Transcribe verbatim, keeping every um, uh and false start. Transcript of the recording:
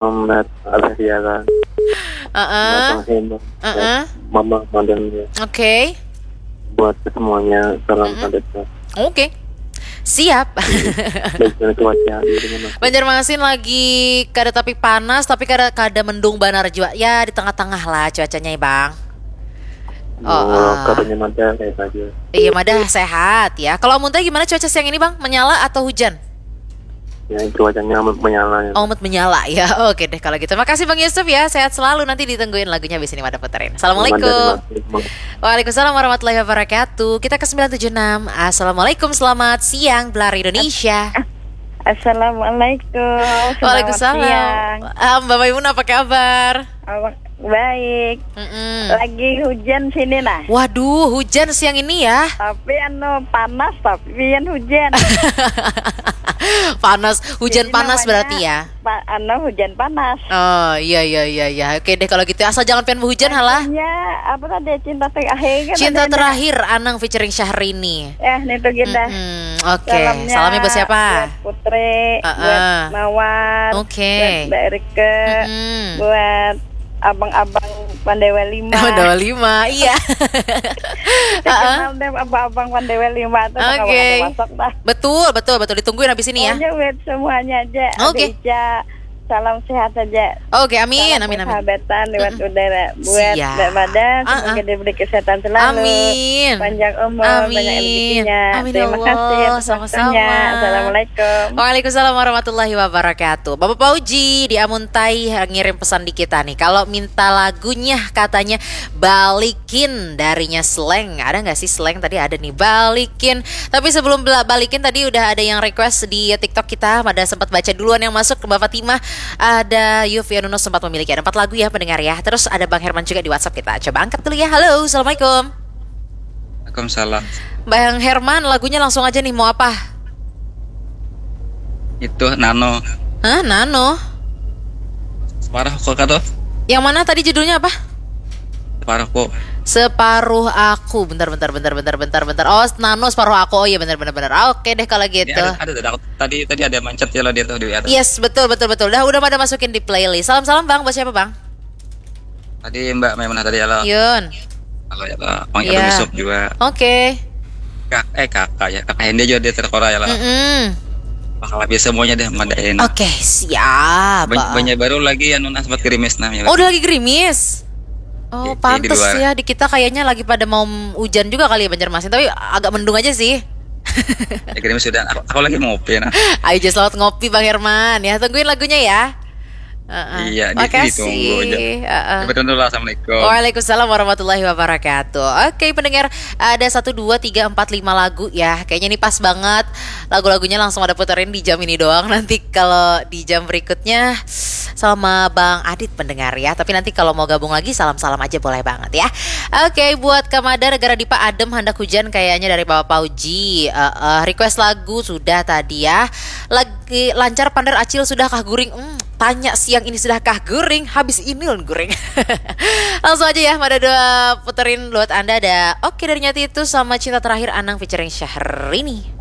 Muhammad Abah Siaran. Heeh. Abang Hema. Heeh. Mama Madam ya. Oke. Buat semuanya salam Mm-mm. sejahtera. Oke. Siap. Baik, dari cuaca di rumah aku. Banjarmasin lagi kada tapi panas tapi kada kada mendung banar jua. Ya di tengah-tengah lah cuacanya, Bang. Oh, Oh, ah. Katanya mata kayak saja. Iya, madah sehat ya. Kalau Amuntai gimana cuaca siang ini, Bang? Menyala atau hujan? Ya, cuacanya menyala ya. Oh, amat menyala ya. Oke deh kalau gitu. Makasih Bang Yusuf ya. Sehat selalu. Nanti ditungguin lagunya habis ini Mada puterin. Assalamualaikum. Terima kasih. Waalaikumsalam warahmatullahi wabarakatuh. Kita ke sembilan tujuh enam. Assalamualaikum, selamat siang Belar Indonesia. Assalamualaikum. Selamat Waalaikumsalam. Siang. Ah, Mbak Maimunah, apa kabar? Apa- Baik. Mm-mm. Lagi hujan sini nah. Waduh, hujan siang ini ya. Tapi anu panas tapi yang hujan. Panas, hujan Jadi panas namanya berarti ya. Pa, anu hujan panas. Oh iya iya iya iya. Oke deh kalau gitu asal jangan pengen hujan halah. Ya apa tadi cinta terakhir kan Cinta tadi ada. Terakhir Anang featuring Syahrini. Eh nih tuh kita. Mm-mm. Oke, salamnya buat siapa? Buat Putri, Heeh. buat Mawar, Oke. buat Mbak Rike, Mm-mm. buat abang-abang Pandewa lima. Pandewa lima, iya. Kenal deh abang-abang Pandewa lima tuh Oke. Oke. Masuk dah. Betul, betul, betul. Ditungguin habis ini ya. Pokoknya buat semuanya aja. Oke. Ada Ica, salam sehat saja. Oke, amin, Salam amin, amin. Persahabatan lewat udara buat Siap. Mbak Mada, Ah, semoga ah. Diberi kesehatan selalu. Amin. Panjang umur, banyak Amin. rezekinya. Amin, Terima ya Allah. Kasih atas Sama-sama. Waktunya. Assalamualaikum. Waalaikumsalam warahmatullahi wabarakatuh. Bapak Pauji di Amuntai ngirim pesan di kita nih. Kalau minta lagunya katanya balikin darinya Slank. Ada nggak sih Slank tadi ada nih balikin. Tapi sebelum bela- balikin tadi udah ada yang request di TikTok kita. Ada sempat baca duluan yang masuk ke Mbak Fatimah. Ada Yufi Anuno sempat memiliki ada empat lagu ya pendengar ya. Terus ada Bang Herman juga di WhatsApp kita. Coba angkat dulu ya. Halo, assalamualaikum. Waalaikumsalam. Bang Herman, lagunya langsung aja nih mau apa? Itu Nano. Hah, Nano? Separuh kok kado. Yang mana tadi judulnya apa? Separuh kok. Separuh aku. Bentar, bentar, bentar, bentar, bentar, bentar. Oh, Nano separuh aku. Oh iya, benar, benar, benar. Ah, oke deh kalau Ini gitu. ada, ada, ada tadi tadi ada mencet ya lo dia tuh di atas. Yes, betul, betul, betul. Dah udah pada masukin di playlist. Salam, salam Bang. Buat siapa Bang? Tadi Mbak Maimunah tadi ya lo. Yun. Kalau ya lo, Bang Iya. Yusuf juga. Oke. Kak, eh kakak ya, kakak Hendy juga dia terkora ya lo. Mm-mm. Bakal habis semuanya deh madain. Oke, siap. Banyak, banyak baru lagi yang nunas buat gerimis nah ya. Oh, udah lagi gerimis. Oh, Iya, iya, di pantes luar. Ya di kita kayaknya lagi pada mau hujan juga kali ya Banjarmasin, tapi agak mendung aja sih. Ya gerimis sudah. Aku, aku lagi ngopi nah. Ayo just selamat ngopi Bang Herman ya. Tungguin lagunya ya. Heeh. Iya, di- Makasih. ditunggu aja. Heeh. Sampai dulu lah, assalamualaikum. Waalaikumsalam warahmatullahi wabarakatuh. Oke pendengar, ada satu dua tiga empat lima lagu ya. Kayaknya ini pas banget. Lagu-lagunya langsung ada puterin di jam ini doang. Nanti kalau di jam berikutnya sama Bang Adit pendengar ya. Tapi nanti kalau mau gabung lagi salam-salam aja boleh banget ya. Oke buat Kamada negara Dipa adem handak hujan kayaknya dari Bapak Pauji. Eh, eh, request lagu sudah tadi ya. Lagi lancar pander acil sudahkah guring? Hmm, tanya siang ini sudahkah guring? Habis ini lun guring. Langsung aja ya, Mada dua puterin buat Anda ada Oke dari Nyati itu sama Cinta Terakhir Anang featuring Syahrini.